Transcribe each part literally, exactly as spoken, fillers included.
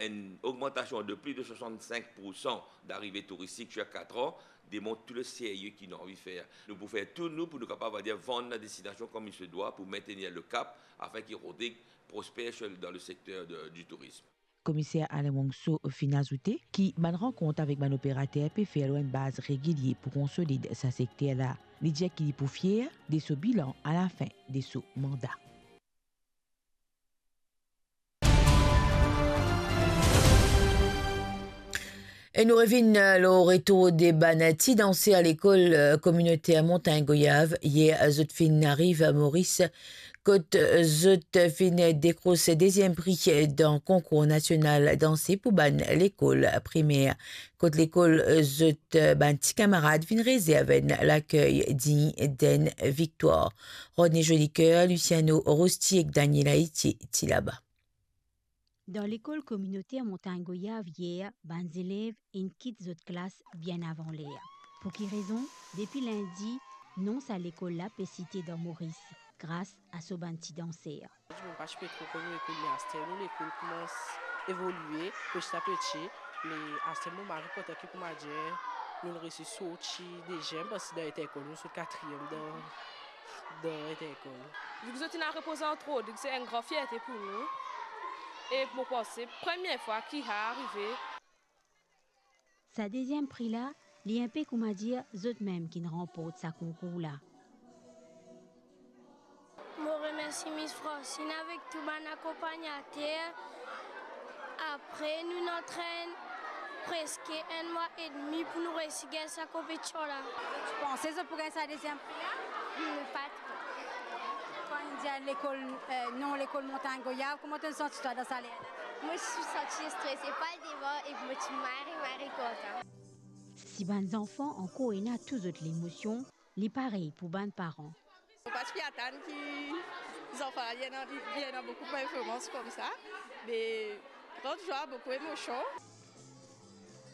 Une augmentation de plus de soixante-cinq pour cent d'arrivées touristiques chaque quatre ans démontre tout le sérieux ki nou anvi fer. Nou pou fer tou nou pou nou kapav, on va dire, vann la destinasion kouma li se dwa pou maintenir le cap afin ki Rodrig prospère sur, dans le secteur de, du tourisme. Komiser Alain Wongso finn azoute ki bann rankont avek bann operater pe fer lor enn baz regilie pou konsolid sa sekter la. Li dir ki li pou fier de so bilan alafin de so manda. E nou revinn, eh, lor retour de bann ti danser lekol, eh, kominoter Montagn Goyav. Yer, zot finn ariv Moris, kot, eh, zot finn dekros deziem pri dan konkour nasional danse pou bann lekol primer. Kot lekol, eh, zot, eh, bann ti kamarad finn rezerv enn lakey dign d'enn viktwar. Rodney Jolicoeur, Luciano Rosti ek Daniela Etier ti laba. Dan lekol kominoter Montagn Goyav yer, bann zelev inn kit zot klas bien avan ler. Pou ki rezon? Depi lindi, non sa lekol la pe site dan Moris, gras a so bann ti danser. Dimoun pa ti pe tro konn lekol, me aster nou lekol koumans evolie peti a peti. Me aster mo mari kontan ki, kouma dir, nou resi sorti deziem, parski dan Intercol nou sort katriem dan, dan Intercol. Viki zot inn al repoze ant Rodrig, se enn gran fierte pou nou. E mo panse, premie fwa ki sa arive. Sa deziem pri la, li enpe, kouma dir, zot mem ki'nn ranport sa konkour la. Mo remersi Miss Francine avek tou bann akonpagnater. Apre, nou'nn antrenn preske enn mwa edmi pou nou resi gagn sa konpetision la. Ti panse zot pou gagn sa deziem pri la? Hmm, pa tro. Kan inn dir lekol, eh, non lekol Montagn Goyav, kouma to'nn santi twa dan sa ler la? Mo ti santi strese, pa devan, e mo ti mari, mari kontan. Si bann zanfan ankor ena tou zot lemosion, li parey pou bann paran. Mo pa ti pe atann ki zanfan la, li ena, li ena boukou performans koumsa, me gran zwa, boukou emosion.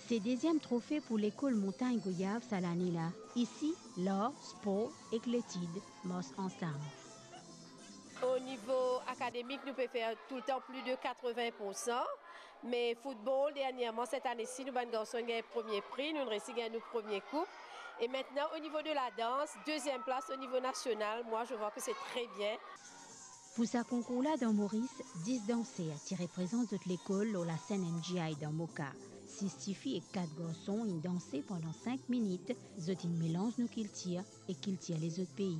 Se deziem trofe pou lekol Montagn Goyav sa lane la. Isi, lar, spor ek letid mars ansam. O nivo akademik, nou pe fer toultan plis de katrevin poursan. Me foutbol, dernierman, set ane si, nou bann garson gagn premie pri, nou resi gagn nou premie koup. E mintnan, o nivo de ladans, deziem plas o nivo nasional, moi, je vois que c'est très bien. Pou sa konkour la dan Moris, dis danser ti reprezant zot lekol lor lasenn M G I dan Moka. Sis tifi ek kat garson inn danse pandan sink minit, zot inn melanz nou kiltir ek kiltir lezot pei.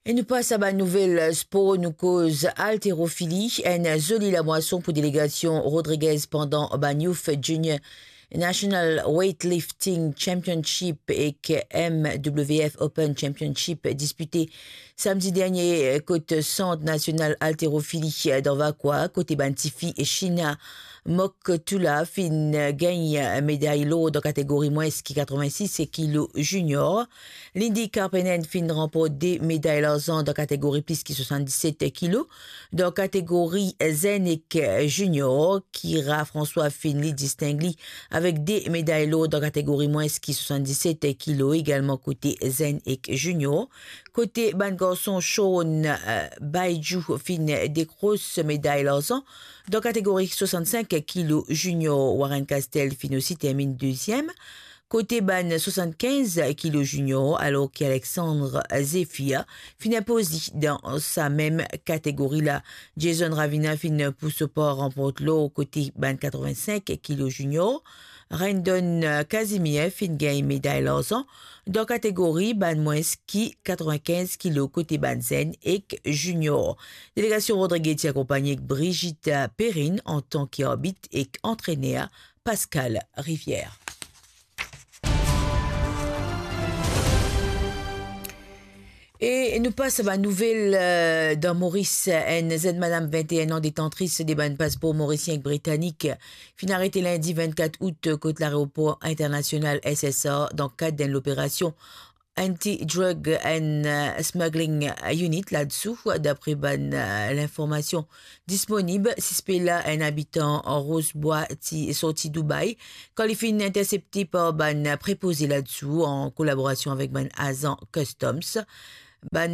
E nou pas a bann nouvel spor, nou koz alterofili, enn zoli lamwason pou delegasion Rodriguez pandan bann Youth Junior National Weightlifting Championship ek M W F Open Championship dispite samdi dernie kot Sant Nasional Alterofili dan Vacoas, kote bann tifi Shina Moktoula finn gagn meday lor dan kategori mwins ki katrevin-sis kilo junior. Lindy Karpenen finn ranport de meday larzan dan kategori plis ki swasann-diset kilo. Dan kategori zenn ek junior, Kira François finn li disting li avek de meday lor dan kategori mwins ki swasann-diset kilo, egalman kote zenn ek junior. Kote bann garson, Sean, eh, Baidjou finn dekros meday larzan dan kategori swasann-sink kilo junior. Warren Castel finn osi terminn deziem kote bann swasann-kinz kilo junior, alor ki Alexandre Zephyr finn inpoz li dan sa mem kategori la. Jason Ravina finn pou so par ranport lor kote bann katrevin-sink kilo junior. Rendon Casimir finn gagn meday larzan dan kategori bann mwins ki katrevin-kinz kilo kote bann zenn ek junior. Delegasion Rodriguez ti akonpagne ek Brigitte Perrine antan ki arbit ek antrener Pascal Rivière. E nou pas a bann nouvel, eh, dan Moris. Enn zenn madam vinteen an, detantris de bann paspor morisien ek britanik, finn arete lindi vennkat out kot laeropor internasional S S R dan kad d'enn loperasion Anti-Drug and, eh, Smuggling Unit ladsou, dapre bann, eh, linformasion disponib. Sispe la, enn abitan Rosebrook, ti sorti Dubai, kan li finn intersepte par bann prepoze ladsou an kolaborasion avek bann azan Customs. bann